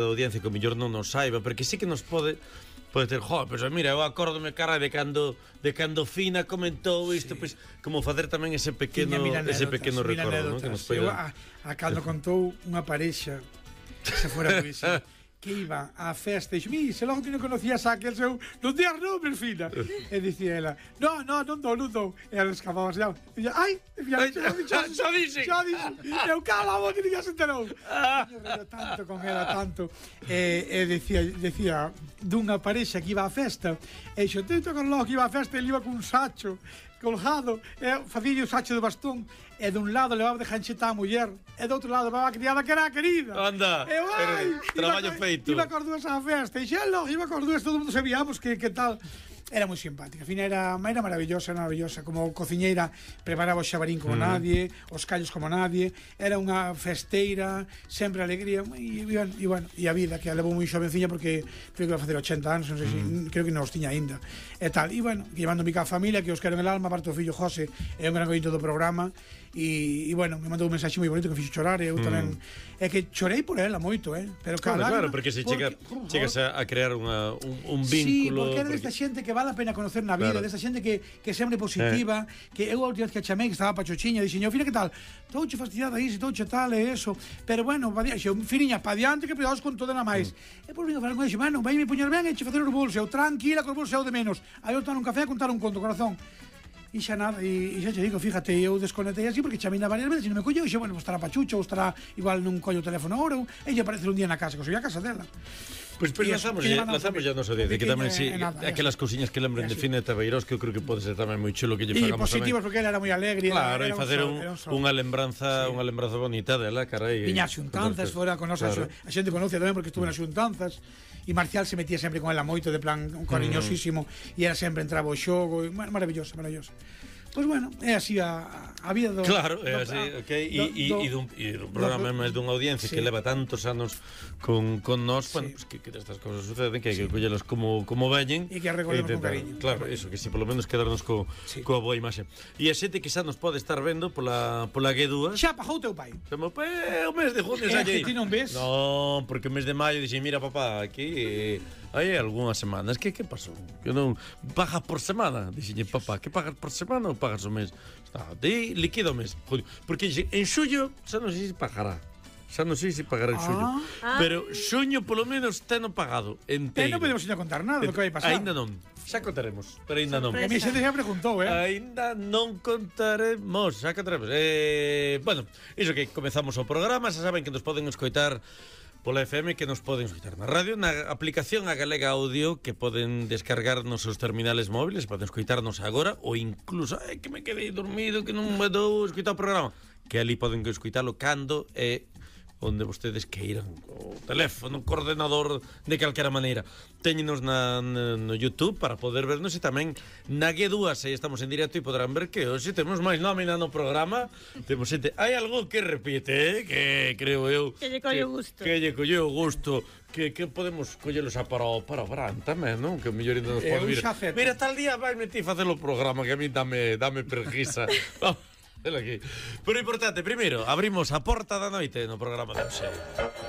da audiencia que o mellor non nos saiba, porque sí que nos pode ter, pois mira, eu acórdome cara de cando Fina comentou isto, pois como facer tamén ese pequeno recordo, non? Que nos eu a cando contou unha parexa se fora poesía que iba á festa e dixo, se logo que non conocías a aquel seu non días nombres, Fina. E dicía ela, non dou. E ela escapaba xa. E dicía, xa dixen. Eu cala a boca que ninguén se enterou. Río tanto con ela, tanto. E decía dunha parexa que iba á festa e dixo, tento con logo que iba á festa e ele iba cun sacho colgado, facía o sacho de bastón e dun lado levaba de jancheta a muller e do outro lado levaba a criada que era a querida. Anda, traballo feito. Iba cos dúas á festa e xelo, iba cos dúas, todo mundo sabíamos que tal. Era moi simpática, Fina era maravillosa, como cociñeira preparaba o xabarín como nadie, os callos como nadie, era unha festeira, sempre alegría, e bueno, e a vida que a levou moi xovenciña porque creo que iba a facer 80 anos, non sei creo que non os tiña aínda. E tal, e bueno, llevándome ca familia que os quero en el alma, aparte o fillo José, é un gran ointe do programa, e bueno, me mandou un mensaxe moi bonito que me fixo chorar, e eu tamén é que chorei por ela moito, pero claro, porque se chegas a crear un vínculo. Sí, porque era desta xente que vale a pena conocer na vida, desta xente que sempre positiva, que eu a última vez que a chamei que estaba pachochiña, dixen, Fina, que tal? Touche fastidiada iso, touche tal e eso, pero bueno, Finiña, pa diante que pedaos con todo na máis. E por vino a falar con ele, vai me poñer ben e che facer os bolsos, eu tranquila con os bolsos de menos. Aí eu tomar un café a contar un conto, corazón. E xa nada, e xa te digo, fíjate, eu desconectei así porque chamei varias veces e non me colleu, e xa, bueno, estará pachucha ou estará igual non collo o teléfono agora, ou ella aparece un día na casa, que soy a casa dela. Pois lanzamos ya nos audiencia, que tamén si aquelas cousiñas que lembren de Fina Tabeiros, que eu creo que pode ser tamén moi chulo que lle fagamos tamén. E positivos, porque ela era moi alegre. Claro, e facer unha lembranza bonita dela, carai. Viña as xuntanzas, fora con nosa, a xente conoce tamén porque estuve nas xuntanzas, e Marcial se metía sempre con ela moito, de plan cariñosísimo, e ela sempre entraba ao xogo, maravillosa. Pois bueno, é así a vida do... Claro, é así, ok, e dun programa máis dunha audiencia que leva tantos anos con nós, bueno, pues que estas cousas suceden, que hai que collelas como veñen e que recordemos con cariño. Claro, eso, que si polo menos quedarnos coa boa imaxe. E a xente que xa nos pode estar vendo pola G2. Xa pagou teu pai. O mes de junio xa lle. Ti non ves? Non, porque o mes de maio dixen, mira papá, aquí hai algunhas semanas, que pasou? Que non pagas por semana? Dixenlle, papá, que pagas por semana ou pagas o mes? Di liquido o mes. Porque en xullo xa non sei se pagará. Xa non sei se pagará en xullo. Pero xuño polo menos teno pagado inteiro. Non podemos ir a contar nada do que vai pasar. Ainda non. Xa contaremos, pero ainda non. A mí xente xa preguntou, Ainda non contaremos, xa contaremos. Bueno, iso que comezamos o programa, xa saben que nos poden escoitar pola FM, que nos poden escutar na radio, na aplicación a Galega Audio, que poden descargar nos seus terminales móviles, poden escuitarnos agora, ou incluso, que me quedei dormido, que non me dou escutar o programa, que ali poden escuitalo cando onde vostedes queiran, o teléfono, o coordenador, de calquera maneira. Téñenos no YouTube para poder vernos, e tamén na G2, aí estamos en directo e podrán ver que hoxe temos máis nómina no programa. Temos xente, hai algo que repite, que creo eu que lle colleu gusto. Que lle colleu gusto, que podemos collelos para o Bran tamén, non? Que o mellor ainda nos pode vir. Mira, tal día vai ti facer o programa que a mí dame preguiza. Aquí. Pero importante, primeiro, abrimos a porta da noite no programa de hoxe.